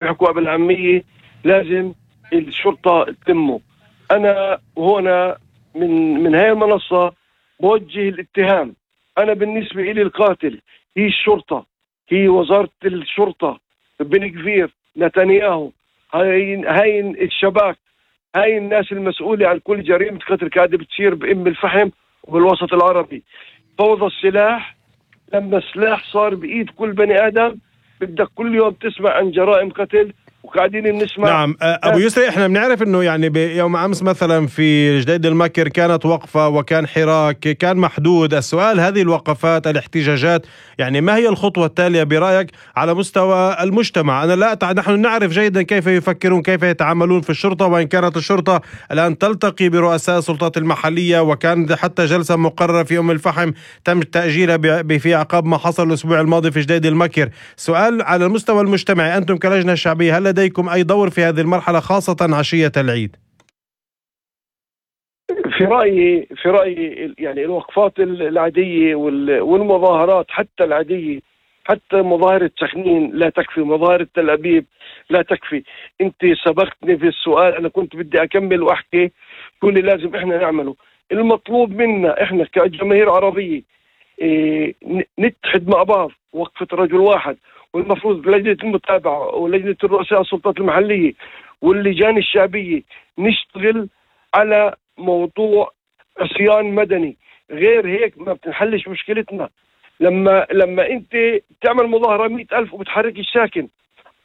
بيحكوا بالعامية لازم الشرطة تلمه. أنا هنا من هاي المنصة بوجه الاتهام. أنا بالنسبة إلي القاتل هي الشرطة، هي وزارة الشرطة، بن كفير، نتنياهو، هاي الشباك، هاي الناس المسؤولة عن كل جريمة قتل قاعدة بتصير بأم الفحم وبالوسط العربي. فوضى السلاح، لما السلاح صار بإيد كل بني آدم بدك كل يوم تسمع عن جرائم قتل وقاعدين نسمع. نعم أبو يسري، إحنا بنعرف أنه يعني بيوم أمس مثلا في جديد المكر كانت وقفة وكان حراك كان محدود. السؤال، هذه الوقفات الاحتجاجات يعني ما هي الخطوة التالية برأيك على مستوى المجتمع؟ أنا لا نحن نعرف جيدا كيف يفكرون، كيف يتعاملون في الشرطة، وإن كانت الشرطة الآن تلتقي برؤساء السلطات المحلية، وكان حتى جلسة مقررة في أم الفحم تم تأجيلها في عقاب ما حصل الأسبوع الماضي في جديد المكر. سؤال على المستوى المجتمعي، أنتم كلجنة شعبية هل لديكم أي دور في هذه المرحلة خاصة عشية العيد؟ في رأيي يعني الوقفات العادية والمظاهرات حتى العادية، حتى مظاهرة سخنين لا تكفي، مظاهرة تل أبيب لا تكفي. أنت سبقتني في السؤال، أنا كنت بدي أكمل وأحكي شو اللي لازم إحنا نعمله. المطلوب منا إحنا كجماهير عربية نتحد مع بعض، وقفة رجل واحد، والمفروض لجنة المتابعة ولجنة رؤساء السلطات المحلية واللجان الشعبية نشتغل على موضوع عصيان مدني. غير هيك ما بتنحلش مشكلتنا. لما انت تعمل مظاهرة 100,000 وبتحرك الساكن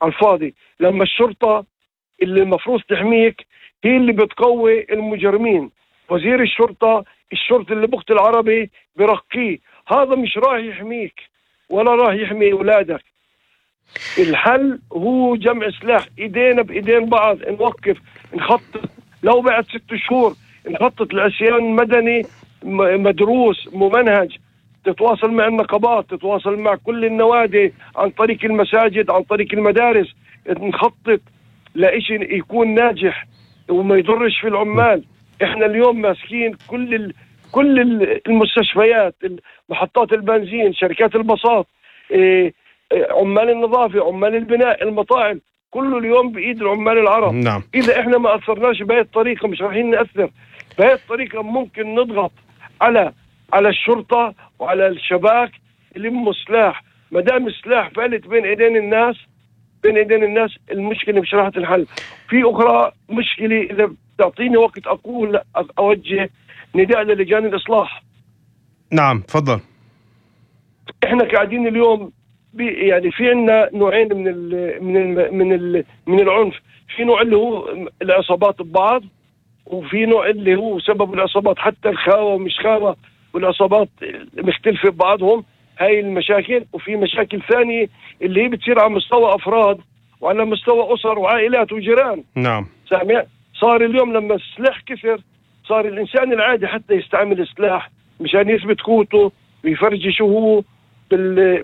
على الفاضي، لما الشرطة اللي المفروض تحميك هي اللي بتقوي المجرمين. وزير الشرطة اللي بقتل العربي برقيه، هذا مش راح يحميك ولا راح يحمي أولادك. الحل هو جمع سلاح، ايدينا بايدين بعض، نوقف، نخطط. لو بعد 6 شهور نخطط لعصيان مدني مدروس ممنهج، تتواصل مع النقابات، تتواصل مع كل النوادي عن طريق المساجد، عن طريق المدارس، نخطط لإشي يكون ناجح وما يضرش في العمال. احنا اليوم ماسكين كل المستشفيات، محطات البنزين، شركات الباصات، عمال النظافة، عمال البناء، المطاعم، كله اليوم بإيد العمال العرب. نعم. إذا إحنا ما أثرناش بهذه الطريقة مش رايحين نأثر. بهذه الطريقة ممكن نضغط على الشرطة وعلى الشباك يلموا سلاح. ما دام السلاح فالت بين إيدين الناس المشكلة مش راح تنحل. في أخرى مشكلة، إذا تعطيني وقت أوجه نداء للجان الإصلاح. نعم تفضل. إحنا قاعدين اليوم يعني في عنا نوعين من العنف. في نوع اللي هو العصابات ببعض، وفي نوع اللي هو سبب العصابات حتى الخاوة ومش خاوة والعصابات مختلفة ببعضهم، هاي المشاكل. وفي مشاكل ثانية اللي هي بتصير على مستوى أفراد وعلى مستوى أسر وعائلات وجيران. نعم. سامع؟ صار اليوم لما السلاح كثر صار الإنسان العادي حتى يستعمل السلاح مشان يثبت قوته ويفرجي شو هو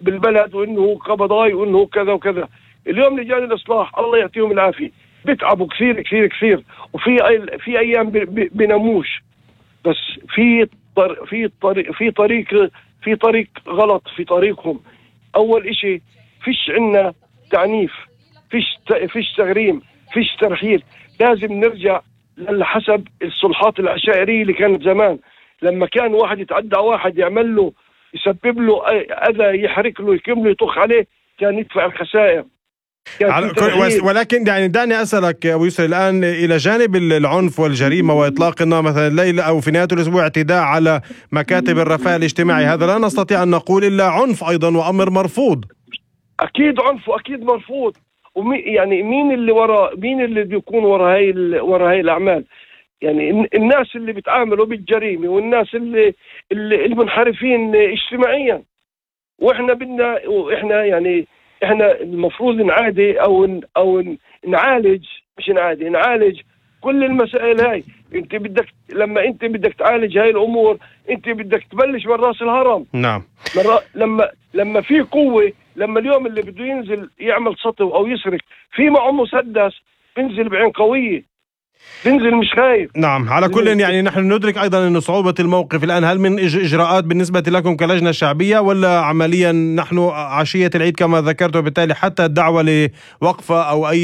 بالبلد، وإنه هو قبضاي وإنه هو كذا وكذا. اليوم لجان الإصلاح الله يعطيهم العافية بيتعبوا كثير كثير كثير، وفي أيام بنموش، بس في طريق غلط في طريقهم. أول إشي فيش عنا تعنيف، فيش تغريم، فيش ترحيل. لازم نرجع لحسب الصلحات العشائرية اللي كانت زمان، لما كان واحد يتعدى واحد يعمل له يسبب له أذى، يحرق له، يكمله، يطخ عليه، كان يدفع الخسائر. ولكن يعني دعني أسألك أبو يسري الآن، إلى جانب العنف والجريمة وإطلاق النار مثلا الليلة أو في نهاية الأسبوع اعتداء على مكاتب الرفاه الاجتماعي، هذا لا نستطيع أن نقول إلا عنف أيضا وأمر مرفوض. أكيد عنف وأكيد مرفوض. يعني مين اللي بيكون ورا هاي الأعمال؟ يعني الناس اللي بيتعاملوا بالجريمة والناس اللي المنحرفين اجتماعيا. وإحنا يعني إحنا المفروض نعادي أو نعالج، مش نعالج كل المسائل هاي. لما انت بدك تعالج هاي الامور انت بدك تبلش من راس الهرم. نعم. لما في قوة، لما اليوم اللي بده ينزل يعمل سطو او يسرق في معه مسدس بنزل بعين قوية. بنزل مش خايف. نعم، على كل يعني نحن ندرك أيضا أن صعوبة الموقف الآن. هل من إجراءات بالنسبة لكم كلجنة شعبية، ولا عمليا نحن عشية العيد كما ذكرت، وبالتالي حتى الدعوة لوقفة أو أي